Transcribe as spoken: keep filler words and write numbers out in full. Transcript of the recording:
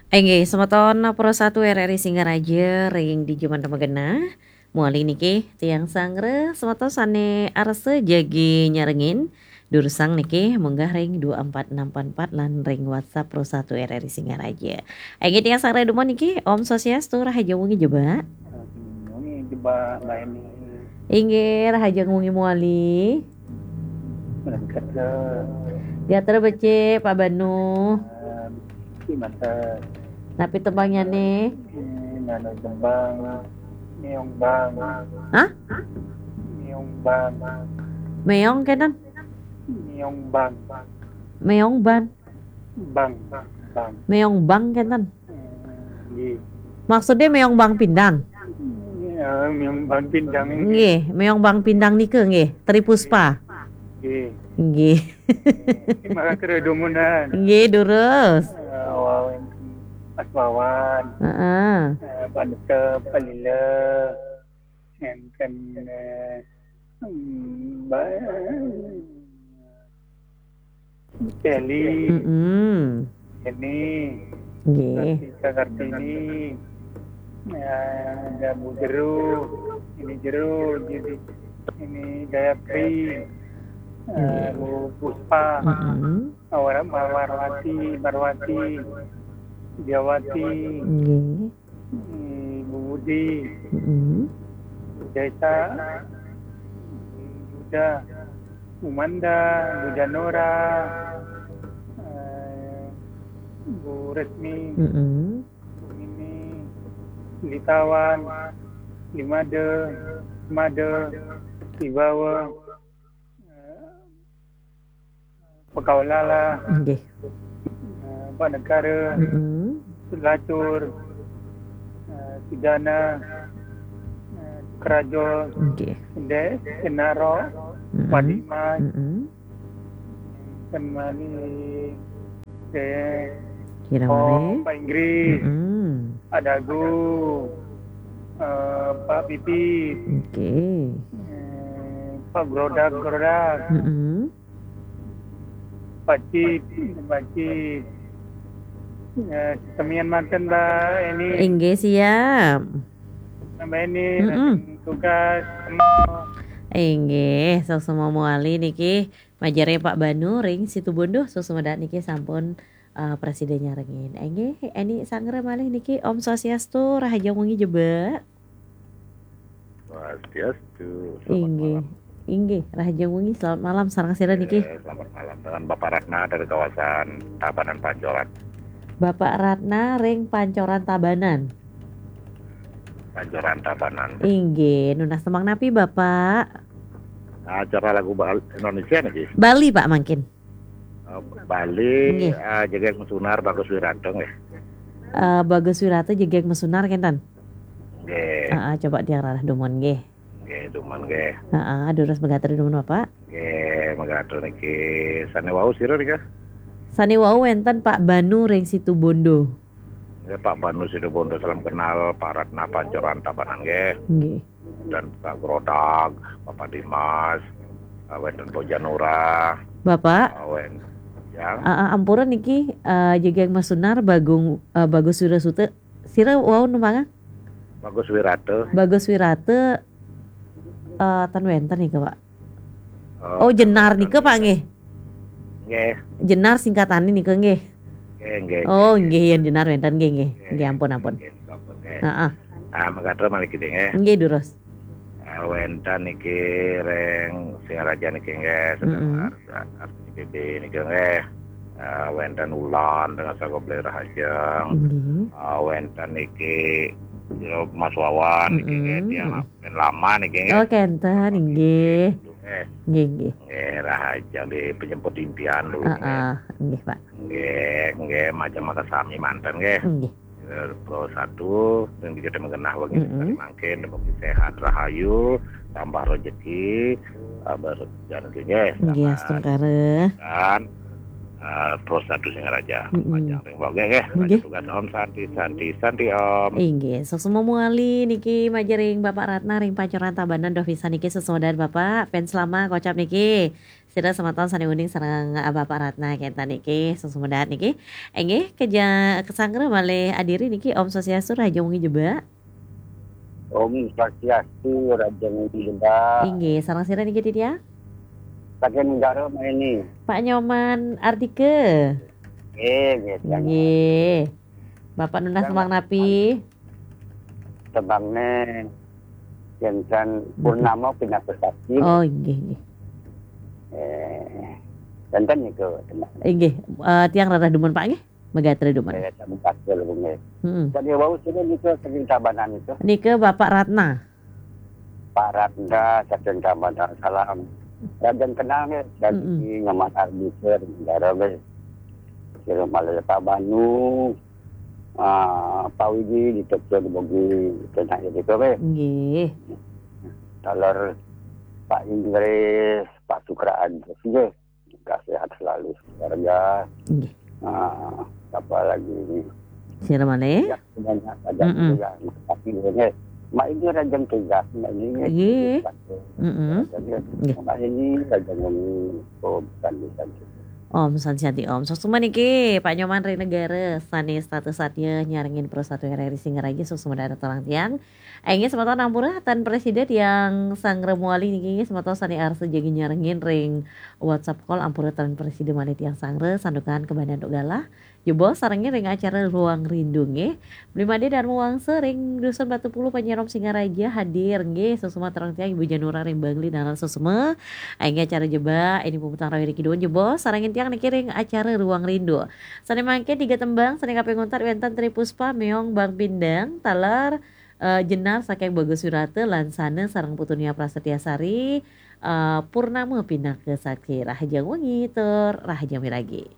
Inggih, semeton Pro satu R R I Singaraja ring dija manten magenah. Mawali niki tiang sanggra, semeton sane arsa jagi nyarengin, durusang niki munggah ring dua empat enam empat empat lan ring WhatsApp Pro satu R R I Singaraja. Inggih, tiang sanggra dumun niki, Om Swastiastu, rahajeng wengi jebak. Wengi jebak, Mbak Eni. Inggih, rahajeng wengi mawali. Gatra. Gatra becik, Pak Banu. Becik manten. Napi tembangnyane? Hmm, anu tembang Meong Bang. Hah? Meong Bang. Meong kenten? Meong Bang. Meong Ban. Bang, Bang. Meong Bang kenten? Hmm, nggih. Maksude meong Bang Pindang? Ya, meong Bang Pindang nggih. Nggih, meong Bang Pindang nika nggih, Tri Puspa. Nggih. Nggih. Maka kere dumunan. Nggih, durus. Eh, wawen Mas Wawan. Heeh. Eh, Pak Nusep, Pak Lila. Enten, eh, Mbak Sally. Mm-mm. Ini. Nggih. Kartika Kartini. Ya, ada Bu Jeru. Ini Jeru, jadi ini Gayatri. Eh, nggih. Bu Puspa. Mm-mm. Awara Marwati, Marwati. Diawati. Nggih. Hmm, Bu Budi, mm-mm. Bu Desa, Bu Yuda, Bu Manda, Bu Janora, eh, Bu Resmi, mm-mm. Bu Mimi, Litawan, Limade, Made, Libawa, eh, Pekaulala, nggih. Eh, Pak Negara, mm-mm. Lacur, eh, Sidana, eh, Kerajo, nggih. Dek, Kenaro, mm-mm. Padima, mm-mm. Kemani, Dek, Kira oh, mare. Pak Inggris, mm-mm. Pak Dagu, eh, Pak Pipit, nggih. Eh, Pak Grodak, Grodak. Mm-mm. Pacit, Pacit. Ya, semian manten, Mbak Eni. Inggih, siap. Mbak Eni, mm-mm. Tugas. Inggih, suksma mawali niki. Majeng Pak Banu ring Situbondo, suksma dahat niki sampun, eh, prasida nyarengin. Inggih, Eni sanggra malih niki, Om Swastiastu, rahajeng wengi jebak. Swastiastu. Selamat malam. Inggih. Inggih, rahajeng wengi, selamat malam, sareng sira niki? Eh, selamat malam. Dengan Bapak Ratna dari kawasan Tabanan, Pancoran. Bapak Ratna ring Pancoran, Tabanan. Pancoran, Tabanan. Inggih, nunas tembang napi, Bapak? Acara lagu Bal-, Indonesia niki. Bali, Pak, mangkin. Eh, Bali, nggih. Eh, Jegeg Mesunar, Bagus Wirata nggih. Eh, Bagus Wirata, Jegeg Mesunar kenten? Nggih. Heeh, coba tiang rarah dumun nggih. Nggih, dumun nggih. Heeh, durus megatur dumun, Bapak. Nggih, megatur niki. Sane wau sira nika? Sane wau wenten Pak Banu ring Situbondo. Nggih, Pak Banu Situbondo, salam kenal, Pak Ratna Pancoran Tabanan nggih. Nggih. Dan Pak Grodag, Bapak Dimas, eh, wenten Bu Janura. Bapak? Eh, wen-, ya. Eh, eh, ampura niki, eh, Jegeg Mesunar, Bagung, eh, Bagus Wirasuta. Sira wau numpang? Bagus Wirata. Bagus Wirata, eh, ten wenten nika, Pak. Oh, oh, Jenar nika, Pak, nggih? Nggih. Jenar singkatane nika, nggih? Nggih, nggih, oh, nggih, nggih, yen Jenar wenten, nggih, nggih. Nggih. Nggih, ampun, ampun. Nggih, ampun, nggih. Heeh. Ah, megatur malih kiding, nggih. Nggih, durus. Ah, wenten niki ring Singaraja niki, nggih, sedaya, mm-mm, arsa, arsa B B niki, nggih. Ah, wenten Ulan dengan sago beli rahajeng. Nggih. Ah, wenten niki, ya, Mas Wawan niki, nggih, mm-mm, tiang, mm-mm, pen lama niki, nggih. Oh, kenten, nggih. Nggih. Nggih, nggih. Nggih, rahajeng di penyemput impian dulu, nggih. Heeh, nggih, Pak. Nggih, nggih, majeng makasami manten, nggih. Nggih. Eh, Pro satu, yang kita mengenah wengi, mm-mm, mangkin, semoga sehat, rahayu, tambah rezeki, tambah rezeki, nggih, selamat astungkara. Dan, eh, Pro satu Singaraja. Mm-mm. Majeng ring Mbok, nggih, nggih. Nggih. Tugas Om, Santi, Santi, Santi Om. Inggih, suksma mawali niki majeng ring Bapak Ratna ring Pancoran Tabanan, duh pisan niki sesodan Bapak, fans lama kocap niki. Sira semeton sane uning sareng Bapak Ratna kenten niki, suksma dahat niki. Inggih, keja-, kesangra malih adiri niki, Om Swastiastu, rahajeng wengi jebak. Om Swastiastu, rahajeng wengi jebak. Inggih, sareng sira niki titiang? Saking Negara Maini. Pak Nyoman Ardika. Nggih, nggih, titiang. Nggih. Bapak nunas tembang napi? Tembangne kenten Purnama Pinaka Sakti. Oh, inggih, inggih. Eh, kenten niku tembang. Inggih, eh, tiang rereh dumun, Pak, nggih. Megatra dumun. Eh, sami kasih lho, nggih. Mm-mm. Tadi wau sira niku saking Tabanan niku. Nika Bapak Ratna. Pak Ratna saking Tabanan, salam. Rahajeng kenal nggih, saking Mm-mm. Nyoman Ardika, Negara nggih. Sira malih Pak Banu, ah, Pak Widi di Tokyo di Bogi, kenten niku nggih. Nggih. Taler Pak Inggris, Pak Sukraan, nggih. Sehat selalu keluarga. Nggih. Ah, apa lagi ini? Sira malih? Ya, banyak saja Mm-mm. juga. Tapi nggih. Mak ini rahajeng tugas, mak ini. Nggih. Mm-mm. Jadi, nggih. Mak ini rahajeng wengi, oh, bukan bisa. Om Swastiastu, Om. Suksma niki, Pak Nyoman ring Negara, sane setata satya nyarengin Pro Satu R R I Singaraja, suksma dahat titiang. Inggih, semeton ampura ten prasida tiang sanggra malih niki, semeton sane arsa jagi nyarengin ring WhatsApp call, ampura ten prasida malih tiang sanggra, santukan kabandha antuk galah. Jebos sarengin ring acara Ruang Rindu nggih. Bli Made Darma Wangsa ring Dusun Batu Puluh, Panjarum Singaraja hadir nggih. Suksma titiang Ibu Janura ring Bangli, taler suksma. Inggih, acara jebak, ini puputang rawi ring Kidung, jebos sarengin tiang niki ring acara Ruang Rindu. Sane mangkin tiga tembang, sane kaping untat wenten Tri Puspa, Meong Bang Pindang, taler, eh, Jenar saking Bagus Wirata, Lansana sareng Putu Nia Prasetya Sari, eh, Purnama Pinaka Sakti. Rahajeng wengi tur rahajeng miragi.